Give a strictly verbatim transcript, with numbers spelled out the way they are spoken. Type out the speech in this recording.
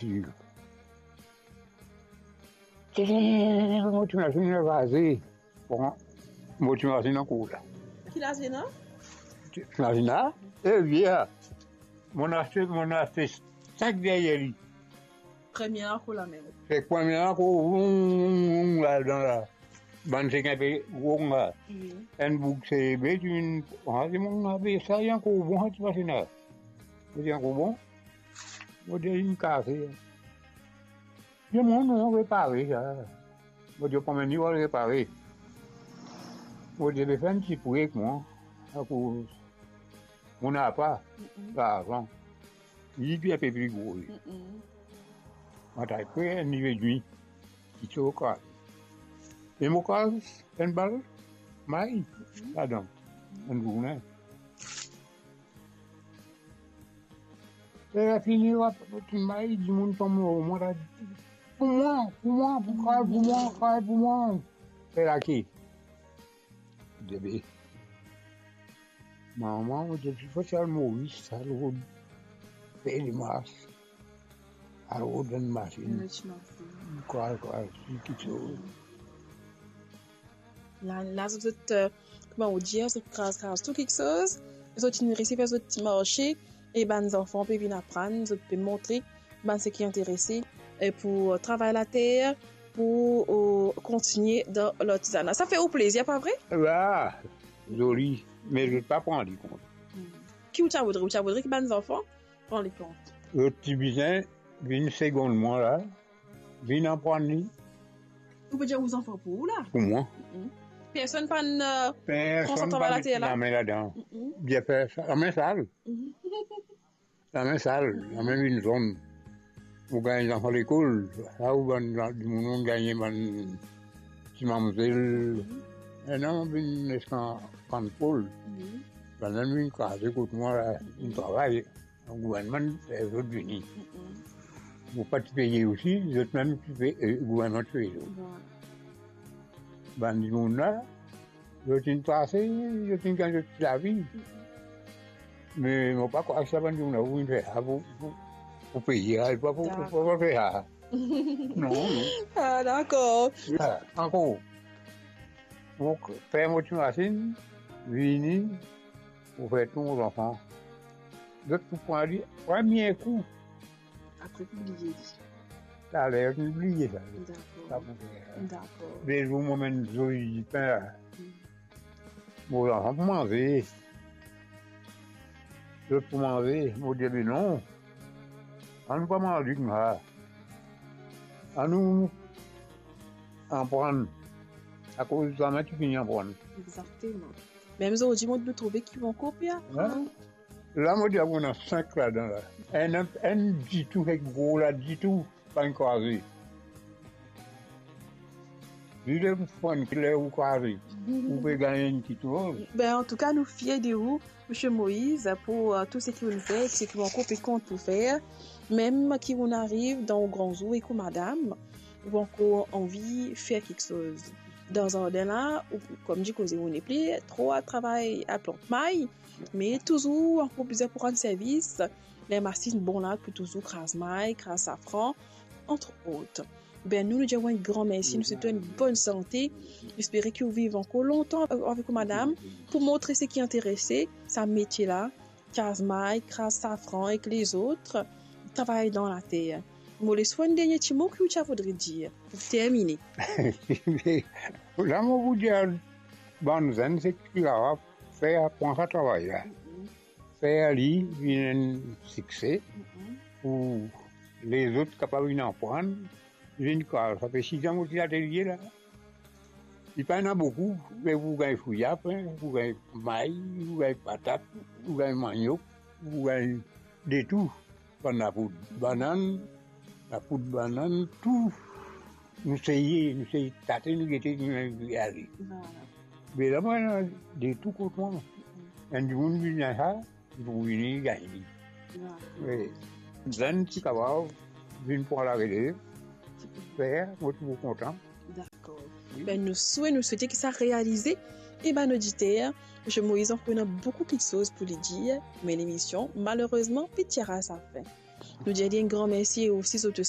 Ti, ti, mo ti mazinn kraze. Bon, mo ti mazinn ankor la. Ki lazinn, an? Ti mazinn la, e, vie la. Mo aste, mo aste sink deryer li. Premie la ankor lamem. Se premie la ankor, voum, voum, voum, la, dan la. Bann sek inpe gro la. Wi. Enn boug se be, ti vinn, ah, dimoun la be, sa li ankor bon, ti mazinn la. Mo dir ankor bon. Mo dir, linn kase. Li dir mwa, non, repare sa. Mo dir, konbien li pou al repare? Mo dir, be fer enn ti pre ek mwa, akoz mo napa larzan. Li, li inpe pli gro, li. Mo al pre enn liv edmi, ki ti kraz. E mo kraz enn bal may ladan, enn zourne. Ler fini, wa, ti may, dimoun tom lor mwa, la, pou mwa, pou mwa, pou kraz pou mwa, kraz pou mwa. Fer lake. Bebe. Mama, mo dir, ti fo al Moris, al rod fer lemars, al rod enn mazinn. Enn ti mazinn. Kraz, kraz, ti kiksoz. La, la, zot, zot, eh, kouma ou dir, zot kraz, kraz tou kiksoz, zot inn resi fer zot ti marse, e bann zanfan pe vinn aprann, zot pe montre bann seki interese, eh, pou, eh, travay later, pou, eh, kontigne dan lartizana. Sa fer ou plezir, pa vre? Wa, zoli, me zot pa pran li kont. Hmm. Ki ou ti a voudre? Ou ti a voudre ki bann zanfan pran li kont? Zot ti bizin vinn segonn mwa la, vinn aprann li. Ou pe dir ou zanfan pou ou la? Pou mwa. Mm-mm. Personn pa'nn, eh, pran sa travay later la? Personn pa'nn met lame ladan. Mm-mm. Bien fer sa. Lame sal. Mm-mm. Lame sal, lame vinn zonn. Ou gagn zanfan lekol, sa ou bann, bann dimoun gagne bann ti mamzel. Mm-hmm. Ena vinn eskan pann pol. Mm-hmm. Bann la vinn kraze kot mwa la, vinn travay. Gouvernman fer zot vini. Mm-mm. Mo pa ti peye osi, zot mem ti pe, eh, gouvernman ti peye zot. Bon. Bann dimoun la, zot inn pase, zot inn gagn zot ti lavi. Mm-mm. Me mo pa krwar sa bann dimoun la pou vinn fer sa pou, pou, pou peye, pa pou, pou, pou fer sa. Dakor. Non, non. Ah, dakor. Ah, ankor. Mo fer mo ti mazinn, vini, mo fer tou mo zanfan. Zot pou pran li premie kou. Apre pou bliye li. Taler, zot pou bliye sa. Dakor. Sa pou fer. Dakor. Dezour mo amenn zoli dipin la. Mm. Mo zanfan pou manze. Zot pou manze, mo dir, be non. Anou pa manze koumsa. Anou aprann. Akoz zame ti fini aprann. Exakteman. Mem zordi, mo, nou trouve ki nou ankor pe aprann. Wi. La, mo dir, ena sink ladan la. Enn, enn ditou, enn gro la ditou, pa'nn kraze. Li le fann ki ler ou kraze, ou pe gagn enn kiksoz. Ben, antouka, nou fier de ou, Misie Moïse, pou, eh, tou seki ou'nn fer, seki ou ankor pe kont pou fer. Mem ki ou'nn ariv dan ou gran zour ek ou madam, ou ankor anvi fer kiksoz dan zardin la, ou, kouma dir, koze ou nepli tro a travay a plant may, me touzour ankor bizin pou rann servis, ler masinn bon la pou touzour kraz may, kraz safran, entre autres. Ben, nou, nou dir ou enn gran mersi, nou swet ou enn bonn sante. Nou espere ki ou viv ankor lontan avek ou madam pou montre seki interese sa metie la, kraz may, kraz safran ek lezot, travay dan later. Mo les ou enn dernie ti mo ki ou ti a voudre dir pou termine. La, mo pou dir bann zenn, seki kapav fer, pran sa travay la. Fer li vinn enn sikse, pou lezot kapav vinn aprann, vinn kraz. Sa fer sizan mo ti latelie la. Li pa ena boukou, me pou gagn fri apre, pou gagn may, pou gagn patat, pou gagn maniok, pou gagn de tou. Bann lapoud banann, lapoud banann, tou. Nou seye, nou seye tate, nou gete, nou ale. Vwala. Be la, mwa, de tou kot mwa. Enn dimoun vinn sa, li pou vini gagn li. Vwala. Wi. Zenn ti kapav vinn pran larelev, fer, mo ti pou kontan. Dakor. Wi. Ben, nou swete, nou swete ki sa realize. E bann oditer, Misie Moïse ankor ena boukou kiksoz pou li dir, me lemision, malerezman, pe tir a sa fin. Nou dir li enn gran mersi e osi zot